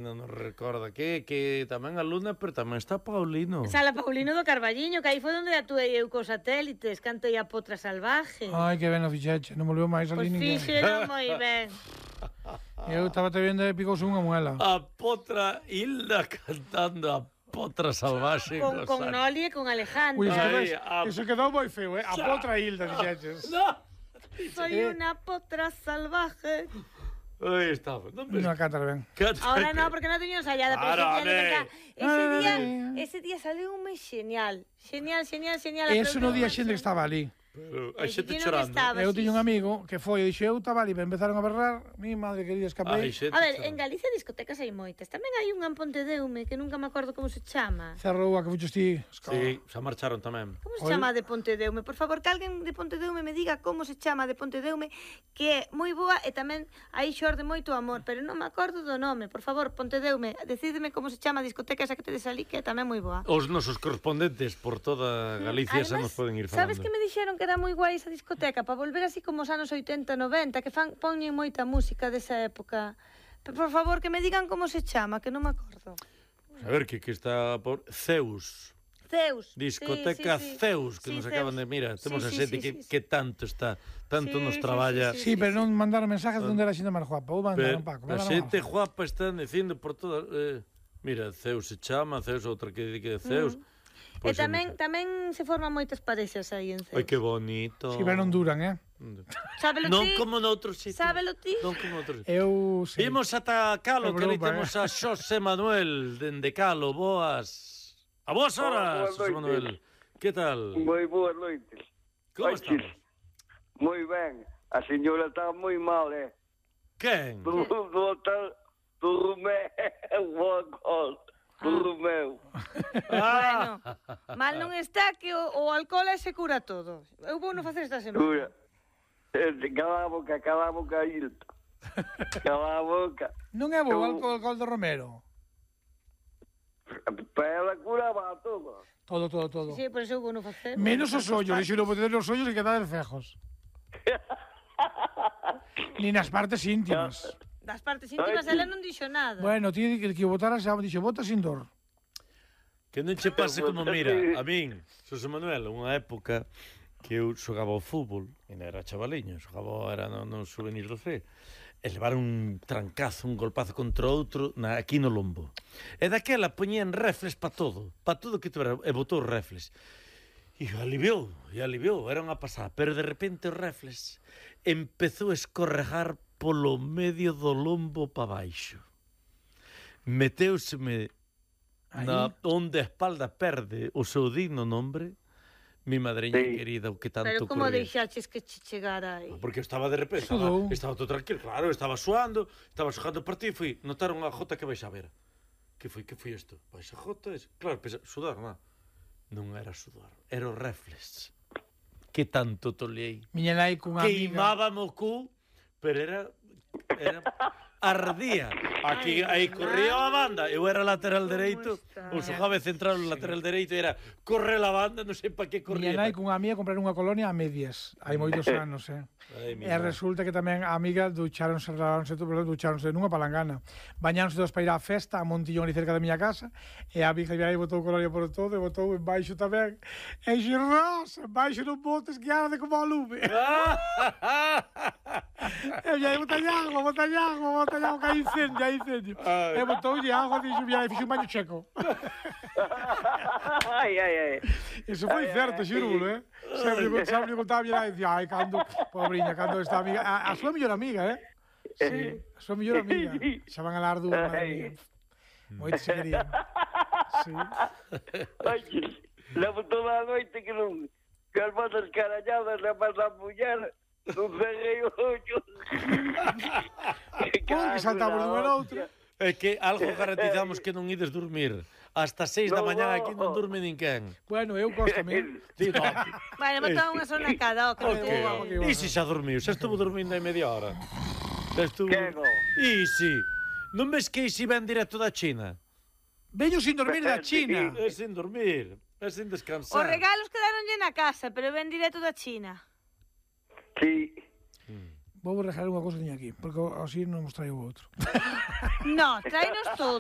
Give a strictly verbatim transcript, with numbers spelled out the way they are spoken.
Non nos recorda que que tamén a Luna, pero tamén está Paulino. Sala Paulino do Carballiño, que aí foi onde atuei eu cos satélites, cantei a Potra Salvaje. Ai, que ben o fixeche, non volveu máis ali Pois ninguén. fixeron moi ben. Eu estaba te vendo e picouse unha muela. A Potra Hilda cantando a Potra Salvaxe. Con, con Noli e con Alejandro. Ui, Ai, eso, a- eso quedou moi feo, eh? A Potra Hilda fixeches. No. Soy una potra salvaje. Aí estaba. Non ves? Non cantar ben. Canta- Ahora no, porque non teño ensayada, pero Claro, ese día, home. ese día, Ay. ese día saliu un mes genial. Genial, genial, genial. Eso no día xente que estaba ali. Pero a Ai, xente ti non chorando. estaba. Eu tiño un amigo que foi e dixo, eu estaba ali, pero empezaron a berrar, mi madre querida, Ai, escapei. xente A ver, chorando. en Galicia discotecas hai moitas. Tamén hai unha en Pontedeume que nunca me acordo como se chama. Cerrou a que fuches ti. Sí, xa marcharon tamén. Como se Ol- chama a de Pontedeume? Por favor, que alguén de Pontedeume me diga como se chama a de Pontedeume, que é moi boa e tamén aí xorde moito amor, pero non me acordo do nome. Por favor, Pontedeume, decideme como se chama a discoteca esa que tedes ali, que é tamén moi boa. Os nosos correspondentes por toda Galicia xa nos poden ir falando. sabes que me dixeron que era moi guai esa discoteca para volver así como os anos oitenta, noventa, que fan poñen moita música desa época. Pero, por favor, que me digan como se chama, que non me acordo. A ver, que, que está por Zeus. Zeus. Discoteca sí, sí, sí. Zeus, que Sí, nos acaban Zeus. de... Mira, temos Sí, a sí, xente sí, que, sí, sí. que tanto está, tanto Sí, nos sí, traballa. sí, Sí, pero non mandaron mensajes de onde era a xente máis guapa. Ou mandaron, Pero Paco. a mandaron xente algo. guapa están dicindo por todas... Eh, mira, Zeus se chama, Zeus outra que di que é Zeus. Mm. Pois E tamén tamén se forman moitas parexas aí en Zeus. Ai, que bonito. Sí, pero non duran, eh? Sábelo Non ti? como noutros sitios. Sábelo ti? Non como noutros sitios. Eu sei. Imos ata Calo, que ali Europa, temos eh. a Xosé Manuel, dende Calo, boas... A boas horas, Hola, boas Xosé noites. Manuel. Que tal? Moi boas noites. Como Oiches, estamos? Moi ben. A señora está moi mal, eh? Quen? Do, do hotel do Romeu, o alcohol, do Romeu. Bueno, mal non está que o, o alcohol é se cura todo. Eu vou non facer esta semana. Dura. Eh, Cala a boca, cala a boca, Hilda. Cala a boca. Non é bo o Eu- alcohol, alcohol do Romero. Para ela curaba todo. Todo, todo, todo. Sí, por eso eu vou non facer. Menos os ollos, dixo non poder os ollos e quedar fejos. Ni nas partes íntimas. Das partes íntimas Ai, ela non dixo nada. Bueno, ti que, que o botara xa dixo, bota sin dor. Que non che pase como, mira, a min, Xosé Manuel, unha época que eu xogaba ao fútbol, e non era chavaliño, xogaba, era no, no souvenir do F, e levar un trancazo, un golpazo contra outro na, aquí no lombo. E daquela poñían refles pa todo, pa todo que tuvera, e botou refles. E aliviou, e aliviou, era unha pasada, pero de repente os refles empezou a escorregar polo medio do lombo pa baixo. Meteuseme na onde a espalda perde o seu digno nombre, mi madreña Sí. querida, o que tanto Pero como corría. deixaches que che chegara aí? Porque eu estaba de repente, Sudou. estaba, estaba todo tranquilo, claro, estaba suando, estaba xogando o partido e fui, notaron a jota que baixa a ver. Que foi, que foi isto? Baixa a jota, es... claro, pensa, sudar, non? Non era sudar, era o reflex. Que tanto toleei. Miña nai cunha amiga. Queimábame o cu, pero era, era ardía. Aquí, aí corría a banda, eu era lateral dereito, está? o xogaba central o lateral dereito, era corre a banda, non sei pa que corría. Miña nai cunha amiga comprar unha colonia a medias. Hai moitos anos, eh. Ai, mi E madre. resulta que tamén a amiga ducharonse, laváronse, todo, ducharonse nunha palangana. Bañáronse todos para ir á festa, a Montillón ali cerca da miña casa, e a amiga aí botou colonia por todo, e botou en baixo tamén. E xe, Rosa, en baixo non botes que arde como a lume. E aí botalle agua, botalle agua, botalle agua, que hai incendio, hai incendio. Ai. E botoulle agua, dixo, mira, e fixo un baño checo. Ai, ai, ai. Iso foi Ai, certo, ai, xiro, eh? Sempre, sempre contaba a miña nai, dicía, ai, cando, pobriña, cando esta amiga, a, a súa mellor amiga, eh? Sí, a súa mellor amiga. Xa van a lar dúas, madre mía. Moito se querían. Sí. Oiches, levo toda a noite que non... Que as botas caralladas le pasa a muller, non cerrei o ollo. Pon que saltamos dunha na outra. É que algo garantizamos que non ides dormir. Hasta seis da No, mañá no. aquí non dorme ninguén. Bueno, eu cóstame. Ti no. Bueno, botou unha zona cada, o que Ok. me vamos, que E se xa dormiu? Xa estuvo dormindo aí media hora. Xa estuvo... Quego. E si? Non ves que si ven directo da China? Veño sin dormir da China. É sin dormir, é sin Os descansar. regalos quedaronlle na casa, pero ven directo da China. Sí. Vou regalar unha cousa que teño aquí, porque así non mos traio outro. No, tráenos todo.